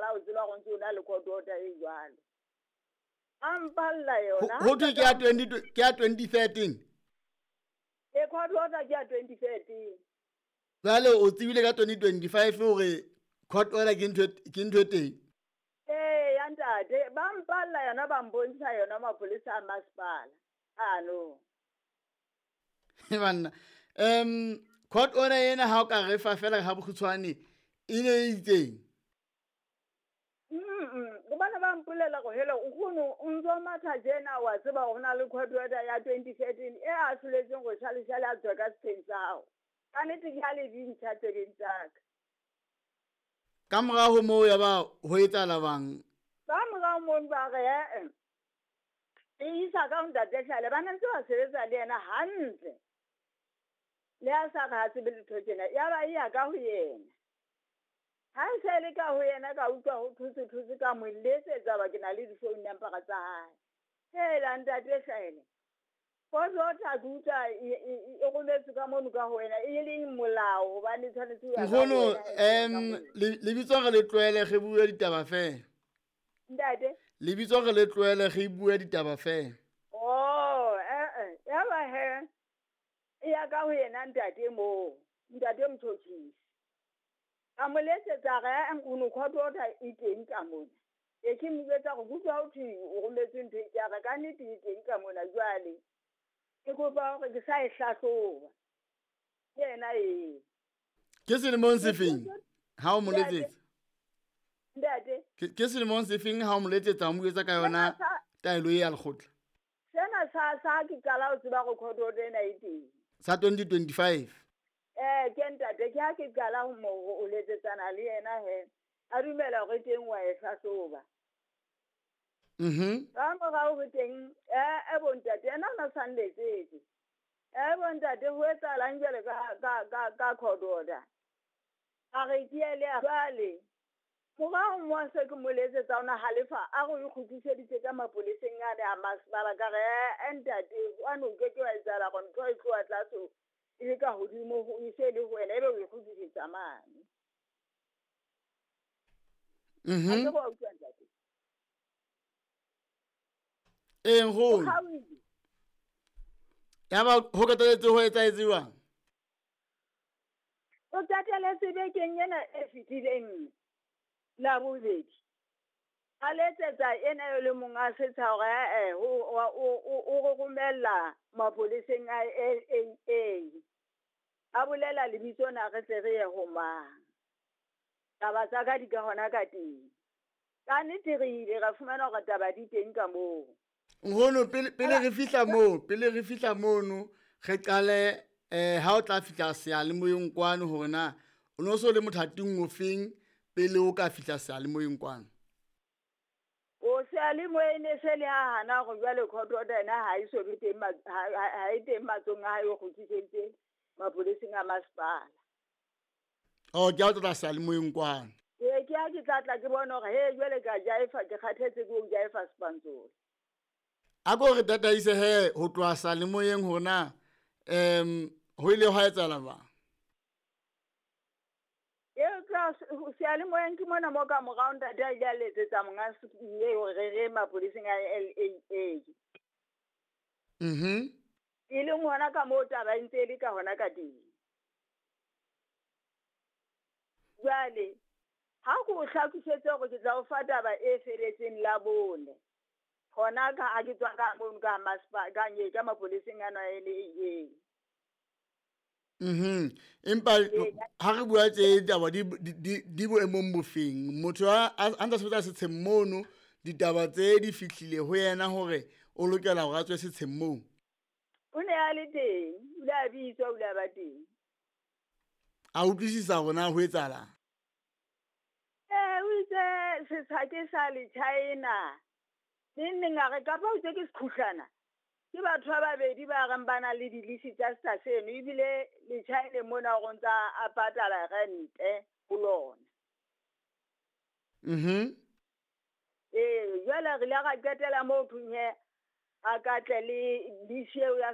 qala ho tseba go ntse o na le court order e jwalo. A mpalla yona. Ho thwe ke ya 20 ke ya 2013. E court order ke ya 2013. Jwale o tsebile ka 2025 hore court order ke ntho e teng. Ee ya ntate, ba mpalla yona ba mbontsha yona mapolesa a masepala. Ano. Banna, court order ena ha o ka re fa fela ha bokgutshwane e ne e itseng. Gobane ba mpolela go hele o kgono o ntso matha tjena wa tseba go na le court order ya 2013 e a hloletseng go šalešale a tswa ka setsheng sa gago. Ka nnete ke ha le dintšha tsebeng tsaka. Ka morao ho moo ya ba ho etsahala bang? Ka morao moo ba re ee e isa ka ho ntate Hlale, ba ne ntse ba sebetsa le yena hantle. Le a sa re ha tsebe letho tjena, ya ba e ya ka ho yena. Ha e se le ka ho yena ka utlwa ho thotse thotse ka mo letsetsa ba ke na le di-phone number tsa hae. Hela ntate Hlale, court order ke utlwa e rometswe ka mono ka ho wena e leng molao hobane tshwanetse ho ya ka ho Nkgono, wena. Lebitso re le tlohele re bue ditaba fela. Ntate? Lebitso re le tlohele re bue ditaba fela. Oh, ya ba he. E ya ka ho yena ntate moo, ntate Motjhotjhisi. A mo letsetsa re nkgono court order e teng ka mona. E ke mo jwetsa hore kutlwa ho thwe o rometswe ntho e ke re ka nnete e teng ka mona jwale. Ke kopa hore ke sa e hlahloba. Ke yena eo. Ke selemong se feng ha o mo letsetsa? Ntate? Ke selemong se feng ha o mo letsetsa o mo jwetsa ka yona taelo e ya lekgotla? Sena sa ke qala ho tseba hore court order ena e teng. Sa 2025. Ke ntate ke ha ke qala ho mo ho letsetsana le yena he. A dumela hore teng wa e hlahloba. Ka morao ho teng e bontate yena o na sa nletsetse. Bontate ho etsahalang jwale ka court order. A re ke ele jwale. Morao mo se ke mo letsetsa ona halefa a re o kgutliseditse ka mapoleseng ane a masepala ka re ntate wa no ke ke wa etsahala gore ntho e tloha tlase e ka hodimo ho e se le ho wena ebe o e kgutlisetsa mane. A ke go utlwa ntate. Ee nkgono. Ya ba ho qetelletse ho etsahetse jwang? O qetelletse bekeng ena e fetileng la bobedi. A letsetsa ena eo le monga setsha hore o romella mapoleseng a LAA. A bolela lebitso na re tle re ye ho mang. Taba tsa ka di ka hona ka teng. Ka nnete re ile ra fumana hore taba di teng ka moo. Nkgono pele re fihla moo, pele re fihla mono re qale ha o tla fihla seyalemoyeng kwano hore na o no so le mothating o feng pele o ka fihla seyalemoyeng kwano. O seyalemoyeng ne se le ha hana hore jwale court order ena ha e so be teng ha e teng matsong a hae o kgutliseditse mapoleseng a masepala. Oh, ke a o tla seyalemoyeng kwano. Ee, ke ha ke tla tla ke bona hore he jwale ka jaefa ke kgathetse ke ho jaefa Sepantsola. A ko re tataise he ho tloha seyalemoyeng hore na ho ile hwa etsahala jwang? Eo tla seyalemoyeng ke mona mo ka morao ntate a ile a letsetsa monga hore re re mapoleseng a LAA. E leng hona ka moo taba e ntse e le ka hona ka teng. Jwale ha ke o hlakisetse hore ke tla o fa taba e feletseng la bone. Hona ka ha ke tswa ka mono ka masepala ka nye ka mapoleseng ana a LAA. Empa ha re bua tse ditaba di boemong bofeng? Motho a ntsa sebetsa setsheng mono, ditaba tse di fihlile ho yena hore o lokela hore a tswe setsheng moo. O ne a le teng, o ile a bitswa, o ile a ba teng. A utlwisisa hore na ho etsahalang? O itse setsha ke sa le China. Neng neng a re kapa o itse ke sekhuhlana. Ke batho ba babedi ba reng ba na le dilisi tsa setsha seno ebile le China mona o ntsa a patala rente ho lona. Ee, jwale re ile ra qetela moo thung he a ka tle le lease eo ya